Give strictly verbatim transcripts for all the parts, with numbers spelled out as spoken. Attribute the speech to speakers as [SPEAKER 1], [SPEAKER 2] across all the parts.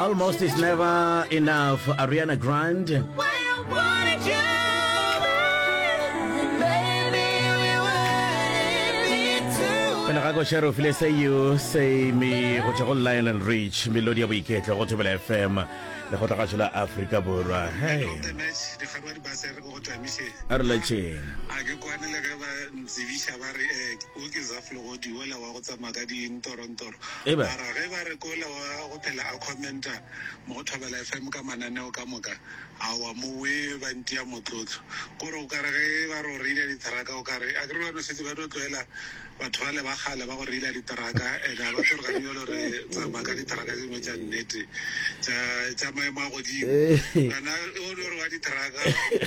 [SPEAKER 1] Almost is never enough, Ariana Grande. Pele ga koša re o file Say You Say Me go tšwa go Lionel Rich, melodi ya boiketlo go Thobela F M, lekgotlagašo la Afrika Borwa. Hey.
[SPEAKER 2] Of the match, dikgarwa di base re go tšwa.
[SPEAKER 1] A re letšeng.
[SPEAKER 2] A ke kwane le ge ba ntsebiša ba re eh, o ke Zaflegodi ola wa go tsamaya ka dintorontoro.
[SPEAKER 1] Eba.
[SPEAKER 2] Mara ge ba re ke ola wa go phela a commenta mo go Thobela F M ka mananeo ka moka, aowa mowe ba ntia motlotlo. Kore o kare ge ba re o reila ditheraka, o kare a ke re ba no setse ba tlo tlwaela batho bale ba kgale ba go reila diteraka, and a ba tlo re gane jalo re tsamaya ka diteraka tse dingwe tša nnete tša tša maemo a godimo. Kana o no re wa diteraka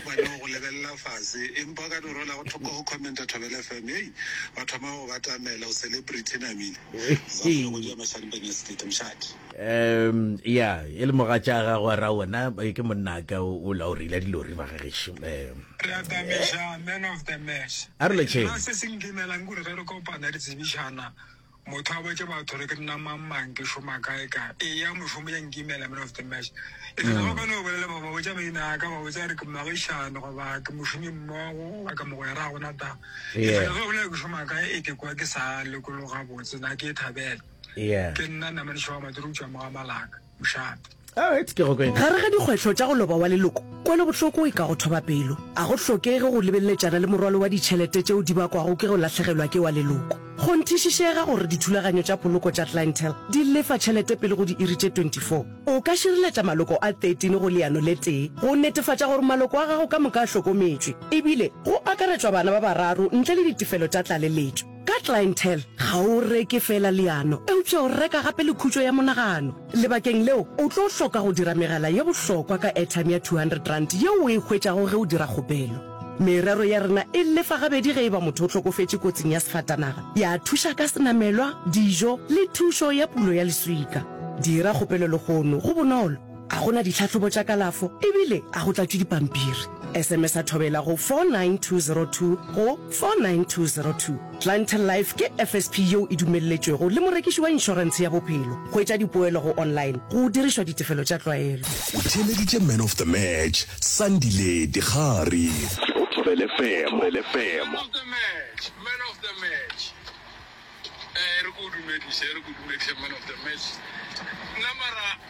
[SPEAKER 2] ba no go lebelela fase, empa ka no rola go thoko go commenta Thobela F M, hei, ba thoma go batamela, o celebrity namile. Zaflegodi ya Mashanipane State mošate.
[SPEAKER 1] um ya e le mogatša gago a ra wena eh, ke monnaka o o la o reila dilori ba gagešo um
[SPEAKER 3] Re atamiša, man of the match.
[SPEAKER 1] A re letšeng.
[SPEAKER 3] Nna se se nkimelang kore ge re kopana re tsebišana, motho a botse batho re ke nna mang mang, ke šoma kae kae. E ya mošomo ya nkimela, man of the match. E fela go ka no bolela ba ba botsa maina a ka, ba botsa re ke moagišane goba ke mošomi mmogo goba ke mogwera, ga gona taba. E
[SPEAKER 1] Yeah.
[SPEAKER 3] fela ge o bolela ke šoma kae, e ke kwa ke sa lokologa botse, na ke e thabela.
[SPEAKER 1] Yeah
[SPEAKER 3] ke nna namadišo wa madiri o tšwa mo ga Malaka mošate.
[SPEAKER 1] Alright, ke go kwena.
[SPEAKER 4] Gare ga dikgwetlho tša go loba wa leloko, kwelobohloko e ka go thoba pelo. A go hlokege go lebeletšana le morwalo wa ditšhelete tšeo di bakwago ke go lahlegelwa ke wa leloko. Kgonthišišega gore dithulaganyo tša poloko tša Clientele di lefa tšhelete pele go diiri tše twenty-four. O ka šireletša maloko a thirteen go leano le tee go netefatša gore maloko a gago ka moka a hlokometšwe, ebile go akaretšwa bana ba bararo ntle le ditefelo tša tlaleletšo. Ka Clientele, ga o reke fela leano, eupša o reka gape le khutšo ya monagano. Lebakeng leo, o tlo hloka go dira megala ye bohlokwa ka airtime ya two hundred rand yeo o e hwetšago ge o dira kgopelo. Merero ya rena e lefa gabedi ge e ba motho o hlokofetše kotsing ya sefatanaga, ya thuša ka senamelwa, dijo le thušo ya pulo ya leswika. Dira kgopelo lehono, go bonolo. A gona ditlhahlobo tša kalafo ebile a go tlatšwe dipampiri. S M S a Thobela go four nine two zero two go four nine two zero two. Clientele Life ke F S P yeo e dumelletšwego le morekiši wa inšorentshe ya bophelo. Hwetša dipoelo go online go dirišwa ditefelo tša tlwaelo.
[SPEAKER 5] O theeleditše Man of the Match, Sandile Dikgari, go Thobela F M. Thobela F M.
[SPEAKER 3] Man of the match, man of the match, eh re ko dumediše, re ko dumediše, man of the match. Nna mara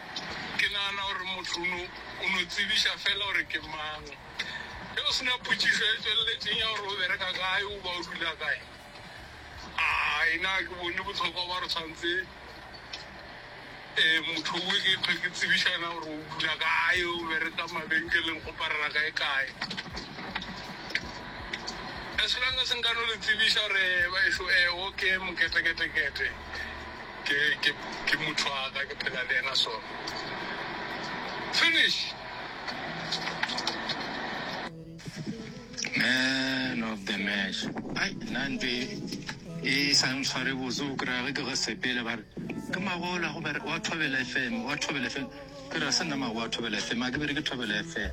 [SPEAKER 3] ke nagana gore motho o no- o no tsebiša fela gore ke mang. Ge o sena potšišo e tsweleletseng ya gore o bereka kae o ba o dula kae, ai, nna ke bone botlhokwa ba re tshwanetse um motho o ke tlhwe ke tsebišana gore o dula kae, o bereka mabenkeleng go parela kae kae. As long as nka no le tsebiša gore baešo e o ke moketeketekete, ke ke ke motho wa ka, ke phela le ena, sona finish.
[SPEAKER 6] Man of the match, ai, nna ntho e e sa ntshware botse o kry-a ge ke go sepele ba re ke magola go bere wa Thobela F M, wa Thobela F M. Ke re se nna mago wa Thobela F M, a ke bere ke Thobela F M.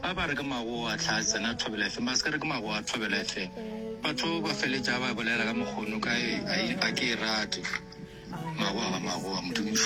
[SPEAKER 6] Ba ba re ke mago a tlha tsena Thobela F M, ba se ka re ke mago wa Thobela F M. Batho ba feletša ba bolela ka mokgono ka e a ke e rate. Magoa ga magoa modimo.